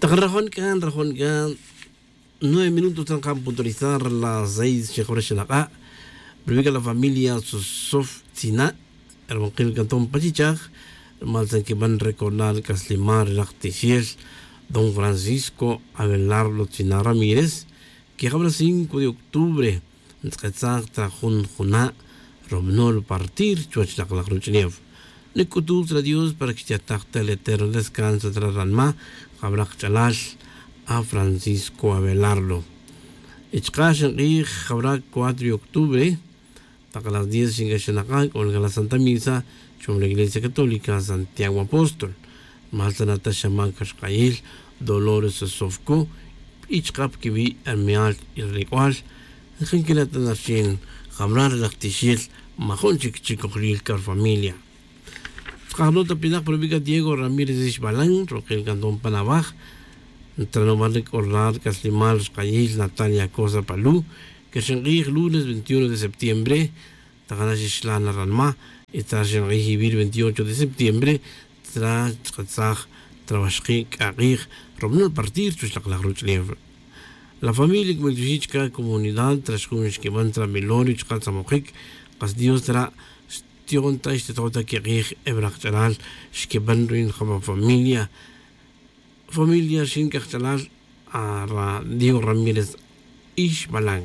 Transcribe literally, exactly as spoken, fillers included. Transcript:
Tak nrajon c'a nrajon c'a nueve minutos tan kan puntualizar las seis xejore xenak'a'. Pero vica la familia sosof tzina' hermankil canton pachichaj, rumal tzan quiban recordar c'aslimal ri laj tixel don francisco abelardo tzina' ramírez, que jabra cinco de octubre ntz'etzaj ta jun juna' romnol partir chuwech lak laj ruch'ulef. Nic'utuj tzra dios para que xtiataj ta el eterno descanso tzra ranma jabra kach'alal a francisco abelardo. Y chaka' xink'ij jabra cuatro de octubre, tak las diez xink'axanaka' c'o la santa misa chuwam la iglesia católica santiago apóstol. Mal tzana ta xamac rk'ayil dolores sofco y chaka' pa quiwi' hermeal y relec'ual. Nkinquila' ta narxin jabra ri laj tixel majun chic chicojlil ca rfamilia. Tzakajlo' ta pinak pa rubi' ca diego ramírez ixbalan rokil canton pan awaj. Ntranomal ri c'o ral c'aslimal rk'ayil natalia cosa pa lu, que ri xink'ij lunes veintiuno de septiembre. Takana xixlan na ranma y ta ri xink'ij ivir veintiocho de septiembre, tra chk'atzaj trawaxki' c'a k'ij romnol partir chuwech lak laj ruch'ulef. La familia cumiltioxi' chca comunidad tra xjun xquiban tra milorio chka tzamojic. Kas dios tra xtion ta xtito' ta quik'ij e wrak ch'alal xquiban ruin jaba familia. Familia xin c'ajch'alal a ra diego ramírez ixbalan.